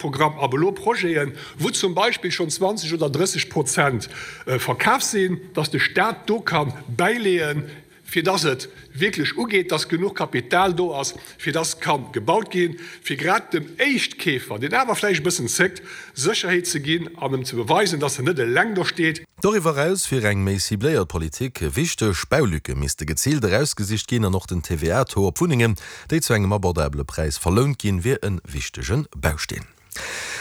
Virkafprogramm ab elo Projeten, wou zum Beispill schonn 20 oder 30 Prozent verkaf sinn, dass de Stat do ka bäileeën, fir dass et wierklech ugeet, dass genuch Kapital do ass, fir dass ka gebaut ginn, fir grad dem Éischtkeefer, deen awer vläicht e bëssen zéckt, Sécherheet ze ginn an em ze beweisen, dass en net eleng do steet. Doriwwer eraus wier eng méi cibléiert Politik wichteg. Baulücke misste geziilt erausgesicht ginn an och den TVA-Taux op Wunnengen, déi zu engem abordabele Präis verlount ginn, wier e wichtege Bausteen.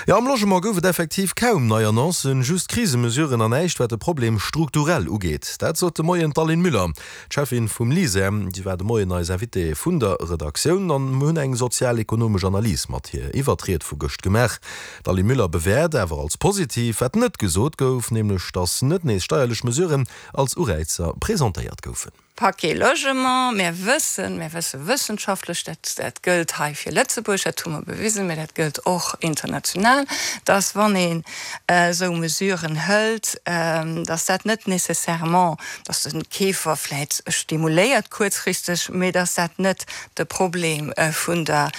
Jo, am Logement gouf et effektiv kaum nei Annoncen, just Krisemesuren an näischt wat de Problem strukturell ugeet. Dat sot de Moien d'Aline Müller, d'Cheffin vum LISER. Si war de Moien eis Invitée vun der Redaktioun an mir hunn eng sozial-ekonomesch Analys mat hir iwwert d'Ried vu gëscht gemaach. D'Aline Müller bewäert awer als positiv, wat net gesot gouf, nämlech datt net nees steierlech Mesuren als Uräizer presentéiert goufen. Paquet Logement, Mir wëssen, mir wësse wëssenschaftlech, dat, dat gëllt hei fir Lëtzebuerg, dat hu mer bewisen, mä dat gëllt och international, dass wann een esou Mesuren hëlt, dass dat net nécessairement, dass de Keefer vläicht stimuléiert kuerzfristeg, mä dass dat net de Problem vun der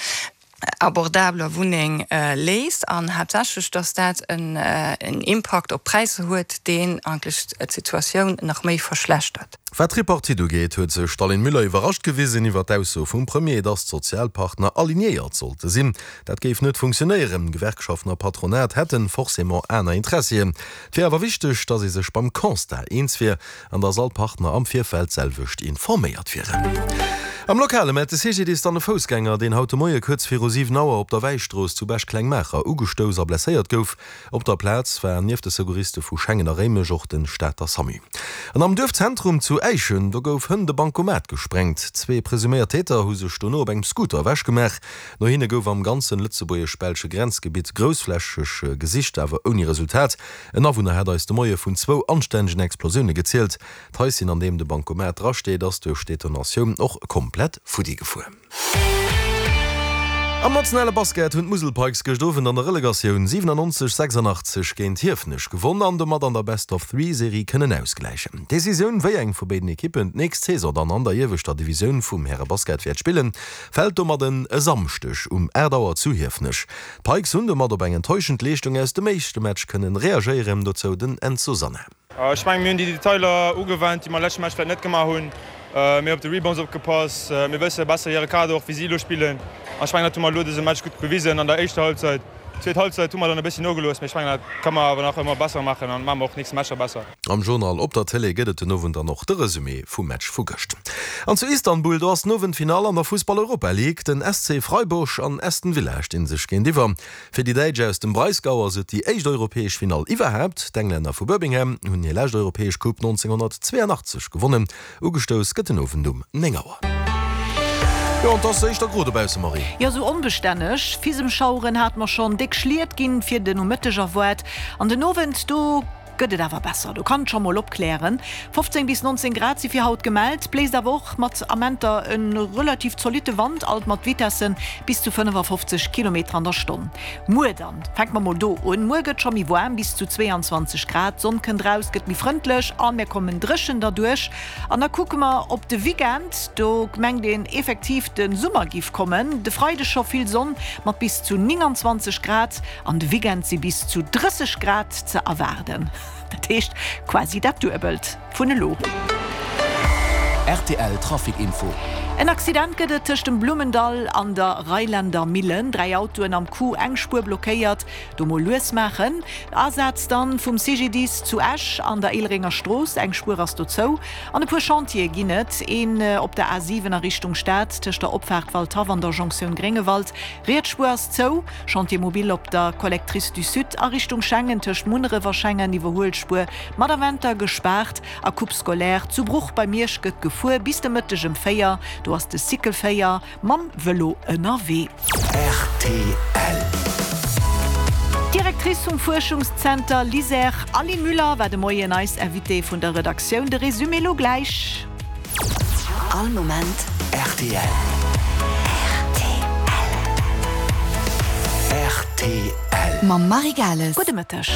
abordabeler Wunneng léist an haaptsächlech, dass dat en Impakt op d'Präisser huet, deen eigentlech d'Situatioun nach méi verschlechtert. Wat d'Tripartite ugeet, huet sech d'Aline Müller iwwerrascht gewisen iwwer d'Ausso vum Premier, dass d'Sozialpartner alignéiert sollte sinn. Dat géif net funktionéieren. Gewerkschaften a Patronat hätten forcément aner Interessien. Et wier awer wichteg, dass ee sech beim Constat eens wier an dass all Partner am Virfeld d'selwecht informéiert wieren. Am Lokale mellt de CGDIS dann e Foussgänger, deen haut de Moie kuerz viru 7 Auer op der Wäistrooss zu Bech-Klengmaacher ugestouss a blesséiert gouf. Op der Plaz war nieft de Secouriste vu Schengen a Réimech och de Stater Samu. An am Duerfzentrum zu Äischen, do gouf hënt e Bankomat gesprengt. Zwee presuméiert Täter hu sech dono op engem Scooter ewechgemaach. No hinne gouf am ganzen lëtzebuergesch-belsche Grenzgebitt groussflächeg gesicht, awer ouni Resultat. En Awunner hat eis de Moie vun zwou anstännegen Explosioune gezielt. D'Haischen, an deem de Bancomat drasteet, ass duerch d'Detonatioun och komplett futti gefuer. Am nationale Basket hunn d'Musel Pikes gëscht Owend an der Relegatioun 97, 86 géint Hiefenech gewonn an domat an der Best-of-Three-Serie kënnen ausgläichen. D'Decisioun, wéi eng vu béiden Ekippen d'nächst Saison dann an der ieweschter Divisioun vum Härebasket wäert spillen, fält domat en e Samschdeg um 8 Auer zu Hiefenech. D'Pikes hunn domat op eng enttäuschend Leeschtung aus dem éischte Match kënnen reagéieren, dozou den Enzo Sanna. Ech mengen, mir hunn déi Detailer ugewennt, déi mer leschte Match vläit net gemaach hunn. Mir hunn op de Rebounds opgepasst. Mir wësse besser hire Kader och, wéi si elo spillen. An ech mengen, dat hu mer elo dëse Match gutt bewisen an der éischter Halbzeit. Zweet Halbzeit hu mer dann e bëssi nogelooss, mee ech mengen, dat ka mer awer nach ëmmer besser maachen an maache mer och nächste Matcher besser. Am Journal op der Télé gëtt et den Owend dann och de Resumé vum Match vu gëscht. An zu Istanbul, do ass den Owend d'Finall an der Fussball-Europa League. Den SC Freiburg an Aston Villa stinn sech géintiwwer. Fir déi Däitsch aus dem Breisgau ass et déi éischt europäesch Finall iwwerhaapt. D'Englänner vu Birmingham hunn hir lescht europäesch Coupe 1982 gewonnen. Ugestouss gëtt den Owend um 9 Auer. Jo, an 't ass éischter gro dobausse, Marie. Jo, sou onbestänneg. Fisemschaueren hate mer schonn, déck Schliet ginn fir de Nomëtteg erwaart an den Owend do gëtt et awer besser, do kann et scho mol opklären. 15 bis 19 Grad si fir haut gemellt, bléist awer och mat Amenter e relativ zolitte Wand, alt mat Vitessen bis zu 55 Kilometer an der Stonn. Muer dann, fänke mer mol do un, muer gëtt scho méi waarm, bis zu 22 Grad, d'Sonn kënnt raus, gëtt méi frëndlech a mir kommen dréchen derduerch. An da kucke mer op de Weekend, do mengt een effektiv de Summer giff kommen, de Freideg scho vill Sonn mat bis zu 29 Grad. An de Weekend si bis zu 30 Grad ze erwaarden, dat heescht quasi dat Duebelt vun elo. Rtl Trafic Info. En Accident gëtt et tëscht dem Blummendall an der Reiländer Millen. 3 Autoen am Coup, eng Spuer blockéiert. Do mol lues maachen. Asaz dann vum CGDIS zu Esch an der Éilerenger Strooss, eng Spuer ass do zou. An e puer Chantiere ginn et, een op der A7 a Richtung Stad tëscht der Opfaart Waldhaff an der Jonktioun Gréngewald. Riets Spuer ass zou. Chantier mobile op der Collectrice du Sud a Richtung Schengen tëscht Munneref a Schengen, Iwwerhuelspuer mat a Wenter gespaart a Coupe scolaire zu Bruch bei Miersch gëtt gefuer bis de Mëtteg ëm 4, do ass de Cycle 4 mam Vëlo ënnerwee. Rtl. D'Directrice vum Fuerschungszenter LISER, Aline Müller, war de Moien eis Invitée vun der Redaktioun. De Résumé lo gläich. All Moment rtl. Rtl. Mam Marie Gales. Gudde Mëtteg.